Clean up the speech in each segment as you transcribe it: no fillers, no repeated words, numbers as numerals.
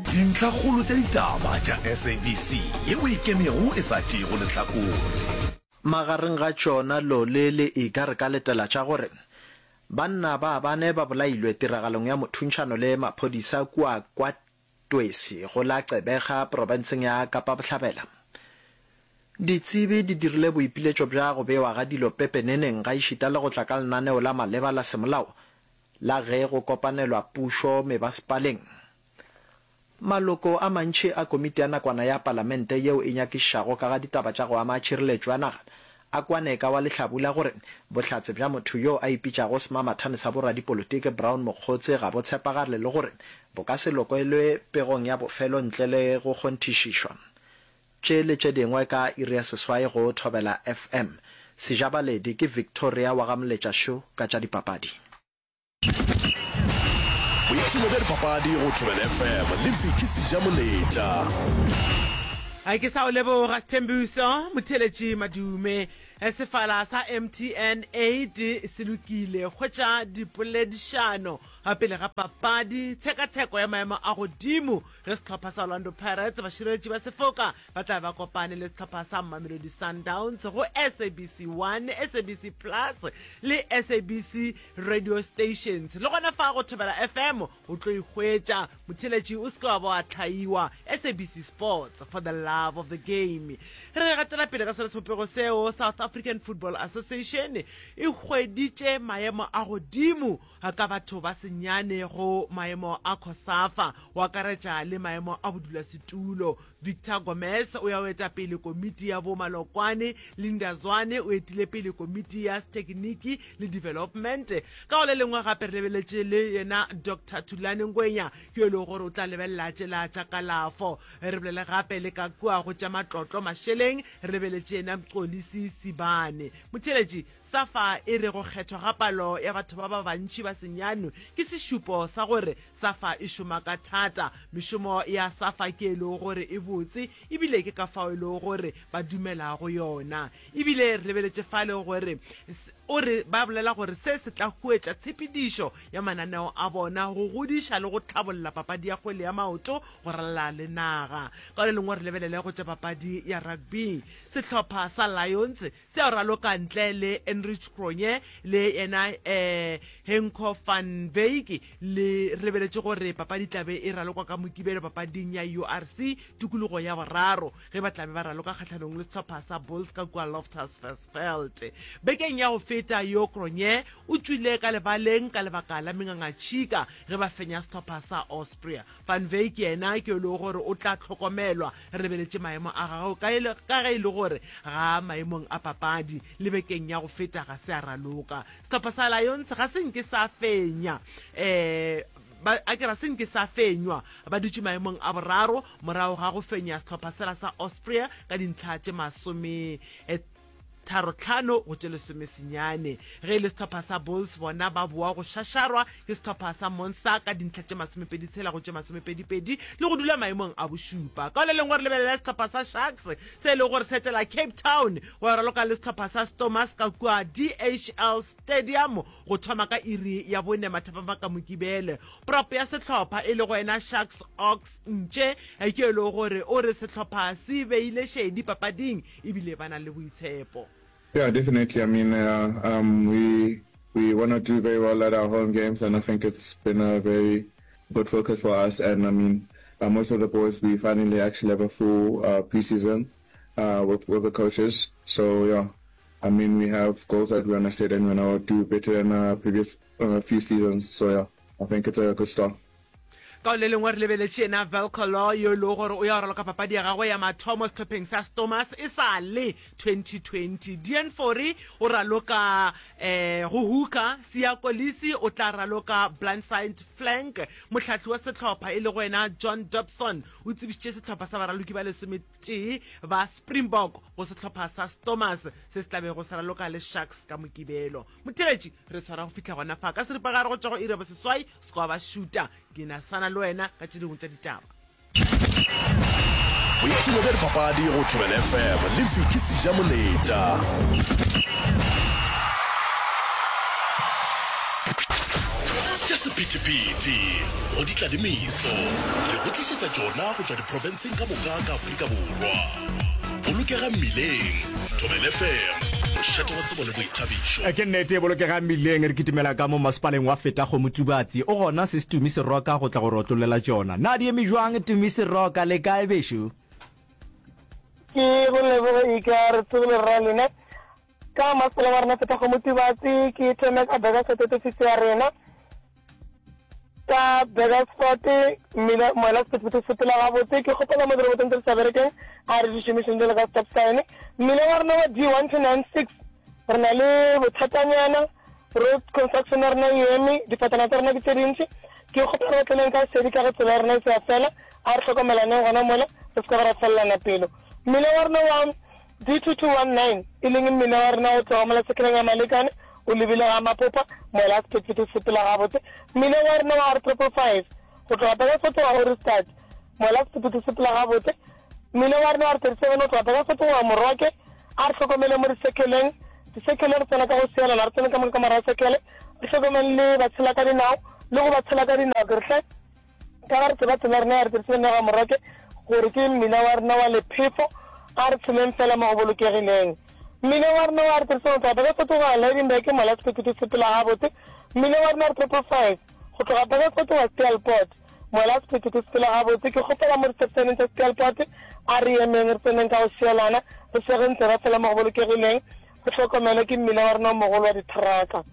Dintlhakgolo tša ditaba tša SABC yeo e ikemego e sa tšeego lehlakore. Magareng ga tšona Lole le Iga re ka letela tša gore banna ba bane ba bolailwe tiragalong ya mothuntšhano le maphodisa kua KwaTwesi go la Gqeberha profenseng ya Kapa Bohlabela. Ditsebi di dirile boipiletšo bja go bewa ga dilo pepeneneng gaešita le go tla ka lenaneo la maleba la semolao la ge go kopanelwa pušo mebasepaleng. Maloko a mantši a komiti ya nakwana ya palamente yeo e nyakišišago ka ga ditaba tša go ama tšhireletšo ya naga a kwane ka wa lehlabula gore bohlatse bja motho yo a ipitšago semamathane sa boradipolotiki Brown Mokgotse ga bo tshepagale le gore bo ka se lokelwe pegong ya bofelo ntle le go kgonthišišwa. Tše le tše dingwe ka iri ya seswai go Thobela FM. Sejabaledi ke Victoria wa ga Moletša Sho ka tša dipapadi. Boipshino bja dipapadi go Thobela FM le Vicky Sejamoletša. A ke sa o leboga Sthembiso Motheeletši Madume. Sefala sa MTN 8 se lokile. Hwetša dipoledišano pele ga papadi, tshekatsheko ya maemo a godimo Ge sehlopha sa Orlando Pirates, bašireletši ba sefoka, ba tla be ba kopane le sehlopha sa Mamelodi Sundowns go SABC 1, SABC Plus le SABC Radio Stations. Le gona fa go Thobela FM o tlo e hwetša. Motheeletši o se ke wa ba wa hlaiwa. SABC Sports, for the love of the game. Re gatela pele ka sona sebopego seo, South African Football Association e hweditše maemo a godimo ka batho ba senyane go maemo a COSAFA, go akaretša le maemo a bodulasetulo. Victor Gomes o ya o eta pele komiti ya bo malokwane, Linda Zwane o etile pele komiti ya setekiniki le development. Ka go le lengwe gape re lebeletše le yena Doctor Thulani Ngwenya, ke yo e lego gore o tla lebelela tšela tša kalafo. Re bolele gape le ka kua go tša matlotlo mašeleng, re lebeletše yena Mxolisi Sibane. Motheeletši, Safa e re go kgethwa ga palo ya batho ba ba bantši ba senyane ke sešupo sa gore Safa e šoma ka thata. Mešomo ya Safa ke e lego gore e botse ebile ke ka fao e lego gore ba dumela go yona. Ebile re lebeletše fale gore o re ba bolela gore se se tla huetša tshepedišo ya mananeo a bona go godiša le go tlhabolla papadi ya kgwele ya maoto go ralala le naga. Ka le lengwe re lebelele go tša papadi ya rugby. Sehlopha sa Lions Se a raloka ntle le Enrich Cronje le yena Henco van Wyk. Le re lebeletše gore papadi tlabe e ralokwa ka Mokibelo papading ya URC tikologo ya boraro ge ba tlabe ba raloka kgahlanong le sehlopha sa Bulls ka kua Loftus Versfeld. Bekeng ya go feta yo Cronje o tšwile ka lebaleng ka lebaka la mengangatšhika ge ba fenya sehlopha sa Osprey. Van Wyk yena ke yo e lego gore o tla hlokomelwa Re lebeletše maemo a gagwe ka ge e le gore ga a maemong a papadi le bekeng ya go feta ga se a raloka. Sehlopha sa Lions ga se nke sa fenya ba a ke ra se nke sa fenywa ba dutše maemong a boraro morago ga go fenya sehlopha sela sa Osprey ka dintlha tše masome tharotlhano go tše lesomesenyane. Ge e le sehlopha sa Bulls bona ba boa go šašarwa ke sehlopha sa Monster ka dintlha tše masomepeditshela go tše masomepedipedi le go dula maemong a bošupa. Ka le lengwe re lebelela sehlopha sa Sharks se e lego gore se etela Cape Town go ya raloka le sehlopha sa Stormers ka kua DHL Stadium go thoma ka iri ya bone mathapama ka Mokibelo. Prop ya sehlopha e lego yena Sharks Ox Ntše ke e lego gore o re sehlopha se beile šedi papading e bile ba na le boitshepo. Yeah, definitely. I mean, uh, um, we we want to do very well at our home games, and I think it's been a very good focus for us. And I mean, uh, most of the boys, we finally actually have a full uh, preseason uh, with with the coaches. So yeah, I mean, we have goals that we want to set, and we want to do better than uh, previous uh, few seasons. So yeah, I think it's a good start. Ka go le lengwe re lebeletše yena Velco Law yo e lego gore o ya go raloka papadi ya gagwe ya mathomo sehlopheng sa Stormers e sa le 2020. Dean Fourie o raloka um go hooker, Siya Kolisi o tla raloka blindside flank. Mohlahli wa sehlopha e lego yena John Dobson o tsebišitše sehlopha sa baraloki ba lesometee ba Springbok go sehlopha sa Stormers se se tla bego se raloka le Sharks ka Mokibelo. Motheeletši, re swara go fihla gona fa ka seripagare go tšwa go iri ya boseswai se kwa ba šuta. Ke na sana le wena ka tše dingwe tša ditaba. Boipshino bja dipapadi go Thobela FM le Vicky Sejamoletša. Tša. sephethephethe, go ditla le meso, re go tlišetša tšona go tšwa diprofenseng ka moka ka Afrika Borwa. Bolokega mmileng, Thobela FM, mošate wa tsebo le boithabišo. Ke nnete, bolokega mmileng, re kitimela ka mo masepaleng wa Fetakgomo Tubatse. O gona Sis Tumi Seroka go tla go re otlollela tšona. Na di eme bjang Tumi Seroka, le kae bešo? Ke go leboge Ika, re tsogile rra lena. Ka masepala wa rena Fetakgomo Tubatse, ke thome ka Burgersfort ofisi ya rena. Ka Burgersfort mmila moela sephethephethe se sepela gabotse. Ke kgopela mo dirobotong tse di sa berekeng a re di šomišeng jalo ka stop sign. Mmila wa rena wa D1296 re na le bothatanyana, road construction ya rena e eme, difatana tsa rena ke tse dintši. Ke kgopela re otleleng ka sedi ka ge tsela ya rena e se ya fela. A re hlokomelaneng gona mola, re se ka ba ra felelana pelo. Mmila wa rena wa D2219, e leng mmila wa rena o tloga mola sekeleng ya Malekane o lebile ga Mapopa, mola sephethephethe se sepela gabotse. Mmila wa rena wa R555, go tloga Burgersfort go ya Ohrigstad, mola sephethephethe se sepela gabotse. Mmila wa rena wa R37 o tloga Burgersfort go ya Moroke. A re hlokomele mo disekeleng, disekele re tsena ka go sielana, re tsene ka moka ka morago sekele, re hlokomele le batshela ka dinao le go ba tshela ka dinao ke re hle. Ka ga re tseba tsela ya rena ya re tsebisitse Noga Moroke gore ke mmila wa rena wa lephefo, a re tsheleng fela mo go bolokegileng. Mmila wa rena wa re tsebisitse go tloga Burgersfort go ya Lydenburg mola sephethephethe se sepela gabotse. Mmila wa rena wa re Triple Five go tloga Burgersfort go ya Steelpoort mola sephethephethe se sepela gabotse. Ke kgopela mo di-stop-sign-eng tša Steelpoort a re emeng re tseneng ka go šielana, re šegeng tseba fela mo go bolokegileng. Re hlokomele ke mmila wa rena o mogolo wa dithraka.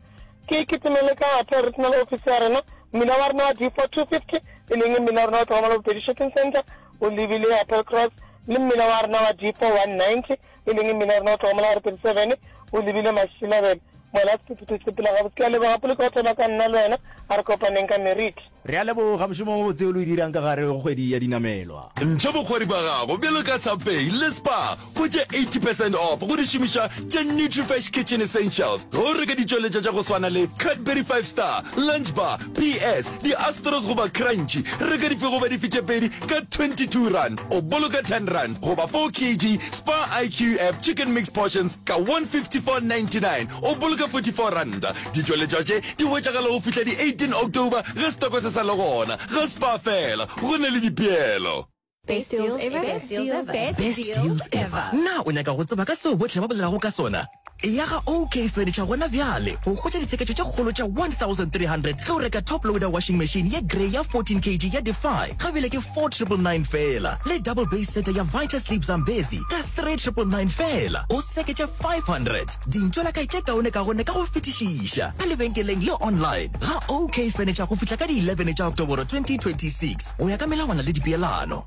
Ke kitimele ka Ape Regional Office ya rena, mmila wa rena wa D4250, e leng mmila wa rena wa tloga mola Bopedi Shopping Centre o lebile Applecross, le mmila wa rena wa D4190, e leng mmila wa rena wa tloga mola R37 o lebile Mashilabele. Mola sephethephethe se sepela gabotse. Ke a leboga Poloko go thoma ka nna le wena, a re kopaneng ka meriti. Re a leboga mošomo o mobotse o le o dirang ka gare go kgwedi ya dinamelwa. Ntšha bokgwari bja gago bjalo ka Subway le Spar go tše 80 percent off go dišomišwa tša Nutrifresh Kitchen Essentials ge o reka ditšweletšwa tša go swana le Cadbury Five Star, Lunch Bar, PS, di-Astros goba Crunchy. Reka dife goba dife tše pedi ka R22 o boloka R10 goba 4 kg Spar IQF Chicken Mix Portions ka R154.99 o boloka R44. Ditšweletšwa tše di hwetšagala go fihla di 18 October ge setoko se sa le gona. Ga Spar fela, go na le dipeelo. Best deals ever. Best deals ever. Best deals ever. Na o nyaka go tseba ka seo bohle ba bolelago ka sona? Eya ga OK Furniture gona bjale go hwetša ditsheketšo tše kgolo tša 1300 ge o reka top loader washing machine ye grey ya 14 kg ya Defy ga bjale ke 4999 feela le double base setter ya Vita Sleep Zambezi ka 3999 feela. O seketše 500. Dintšwelakae tše kaonekaone ka go fetišiša ka lebenkeleng le online ga OK Furniture go fihla ka di 11 tša Oktoboro 2026 go ya ka melawana le dipeelano.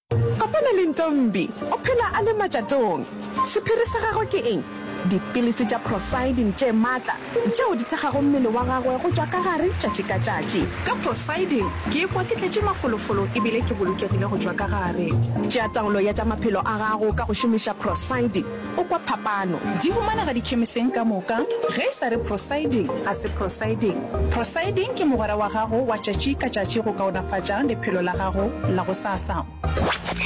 Kopana le Ntombi, o phela a le matšatong. Sephiri sa gagwe ke eng? Dipilisi tša Procyldin tše matla tšeo di thekgago mmele wa gagwe go tšwa ka gare tšatši ka tšatši. Ka Procyldin, ke ikwa ke tletše mafolofolo e bile ke bolokegile go tšwa ka gare. Tšea taolo ya tša maphelo a gago ka go šomiša Procyldin. O kwa phapano. Di humanega dikhemiseng ka moka. Ge e sa re Prosiding, ga se Prosiding. Prosiding ke mogwera wa gago wa tšatši ka tšatši go kaonafatša lephelo la gago la gosasa.